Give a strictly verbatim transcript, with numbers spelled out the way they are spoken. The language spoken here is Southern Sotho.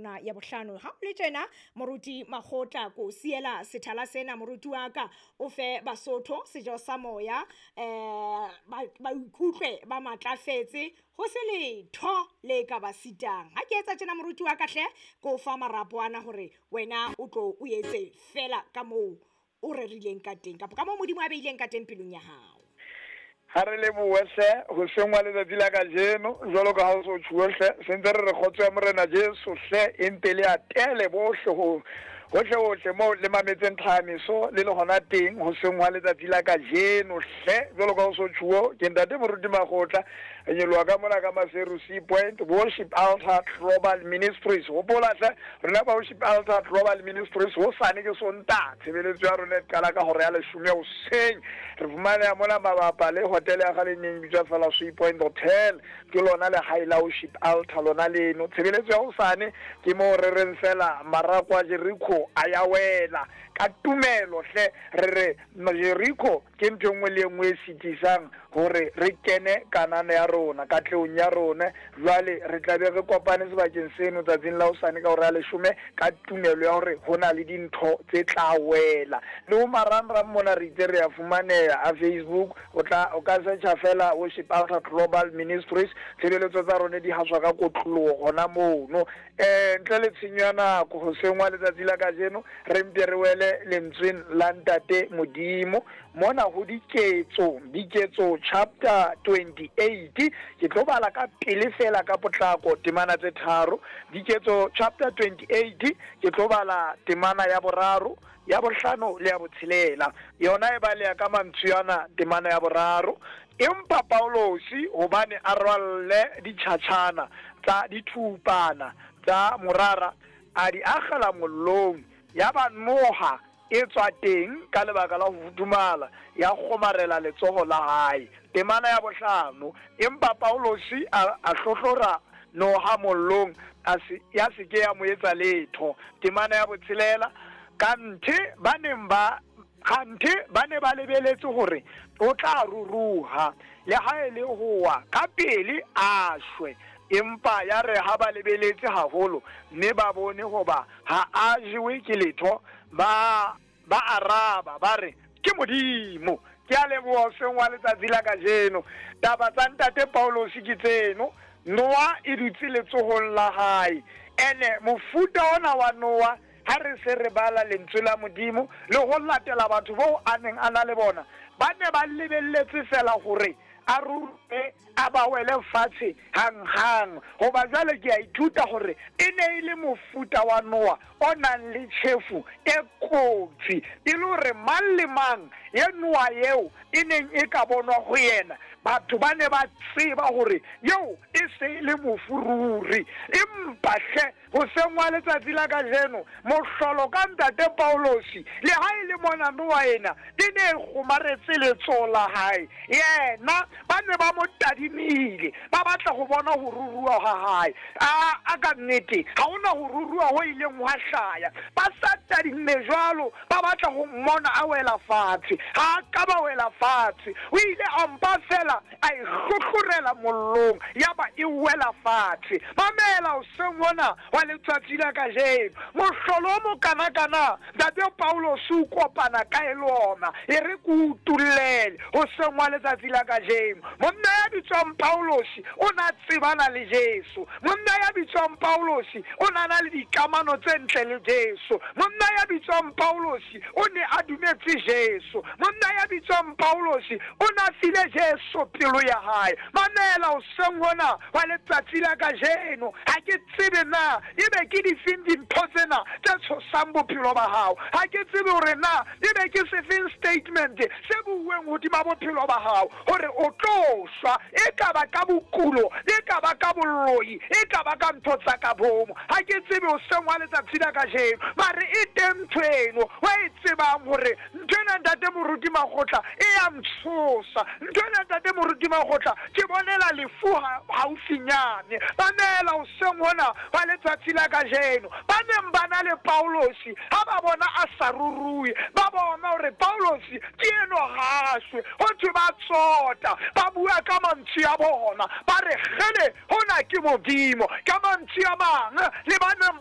rona ya bohlano. Ha o le tjena Moruti Makgotla, ko siela sethala sena moruti wa ka, o fe Basotho sejo sa moya, eh ba ba ikutlwe ba matlafetse, ho se letho le ka ba sitang. Ha ke etsa tjena moruti wa ka hle, ko fa marapo ana hore wena o tlo o etse fela ka moo o rerileng ka teng, kapa ka moo Modimo a beileng ka teng pelong ya hao. Ha re lebohe hle hoseng wa letsatsi la kajeno, jwalo ka ha o so tjhuwe hle, sentse re re kgotso ya Morena Jesu hle e mpe le atele bohle ho hohle hohle moo le mametseng tlhahamiso le le hona teng hoseng wa letsatsi la kajeno hle, jwalo ka ha o so tjhuwe. Ke ntate Moruti Makgotla, re nyoloha ka mona ka Maseru Sea Point, Worship Altar Global Ministries. Hopola hle rona ba Worship Altar Global Ministries, hosane ke Sontaha, tshebeletso ya rona e qala ka hora ya leshome hoseng. Re fumaneha mona mabapa le hotel ya kgale e neng e bitswa fela Sea Point Hotel, ke lona lehae la Worship Altar lona leno. Tshebeletso ya hosane ke moo re reng fela marako a Jericho a ya wela ka tumelo hle, re re Jericho ke ntho e nngwe le e nngwe e sitisang hore re kene kanana ya rona, katlehong ya rona. Jwale re tla be re kopane sebakeng seno tsatsing la hosane ka hora ya leshome ka tumelo ya hore ho na le dintho tse tla wela. Le ho marangrang mona re itse re ya fumaneha a Facebook, o tla o ka searcha fela Worship Altar Global Ministries, tshebeletso tsa rona di haswa ka kotloloho hona mono. Eh ntle le tshenyo ya nako, hoseng wa letsatsi la kajeno re mpe re wele lentsweng la Ntate Modimo mona ho Diketso, Diketso chapter twenty-eight. Ke tlo bala ka pele fela ka potlako temana tse tharo. Diketso chapter twenty-eight, ke tlo bala temana ya boraro, ya bohlano le ya botshelela. Yona e baleha ka mantswe ana temana ya boraro: empa Paulosi hobane a rwalle ditjhatjhana tsa dithupana tsa morara, a di akgela mollong, ya ba noha e tswa teng ka lebaka la ho futhumala, ya kgomarela letsoho la hae. Temana ya bohlano: empa Paulosi a, a hlohlora noha mollong, a se, ya se ke ya mo etsa letho. Temana ya botshelela: kanthe ba neng ba kganthe ba ne ba lebeletse hore o tla ruruha, le ha e le ho wa ka pele a shwe, empa ya re ha ba lebeletse haholo mme ba bone hoba ha a jewe ke letho, ba ba araba ba re ke Modimo. Ke a leboha hoseng wa letsatsi la kajeno. Taba tsa ntate Paulosi ke tseno, noa e dutse letsohong la hae. Ene mofuta ona wa noa, ha re se re bala lentswe la Modimo le ho latela batho bao a neng a na le bona, ba ne ba lebelletse fela hore a ruruhe a ba wele fatshe hang-hang. Hoba jwale ke a ithuta hore e ne e le mofuta wa noa o nang le tjhefu e kotsi, e le hore mang le mang ye noa eo e neng e ka bonwa ho yena, batho ba ne ba tseba hore eo e se e le mofu ruri. Empa hle hoseng wa letsatsi la kajeno, mohlolo ka ntate Paulosi, le ha e le mona noa ena e ne e kgomaretse letsoho la hae, yena ba ne ba mo tadimile, ba batla ho bona ho ruruha ha hae. A, a ka nnete ha hona ho ruruha ho ileng hwa hlaya, ba sa tadimme jwalo, ba batla ho mmona a wela fatshe. Ha a ka ba wela fatshe, o ile a mpa fela a e hlohlorela mollong, ya ba e wela fatshe. Mamela hoseng hona wa letsatsi la kajeno, mohlolo o mokanakana ntate Paulosi o kopana ka e le ona, e re ke o utullele hoseng wa letsatsi la kajeno. Monna ya bitswang Paulosi o na tsebana le Jesu. Monna ya bitswang Paulosi o na na le dikamano tse ntle le Jesu. Monna ya bitswang Paulosi o ne a dumetse Jesu. Monna ya bitswang Paulosi o na file Jesu pelo ya hae. Mamela hoseng hona wa letsatsi la kajeno, ha ke tsebe na ebe ke difeng dintho tsena tse tshosang bophelo ba hao, ha ke tsebe hore na ebe ke sefeng statement se buuweng hodima bophelo ba hao hore o tlo shwa, e ka ba ka bokulo, e ka ba ka boloi, e ka ba ka ntho tsa ka bomo. Ha ke tsebe hoseng wa letsatsi la kajeno, mare e teng ntho eno wa e tsebang hore ntho ena ntate Moruti Makgotla e ya ntshosa, ntho ena ntate Moruti Makgotla ke bonela lefu haufinyane. Mamela hoseng hona wa letsatsi la kajeno, ba neng ba na le Paulosi ha ba bona a sa ruruhe, ba bona hore Paulosi ke eno ha shwe, ho thwe ba tsota, ba bua ka mantswe a bona, ba re kgele hona ke Modimo. Ka mantswe a mang le ba neng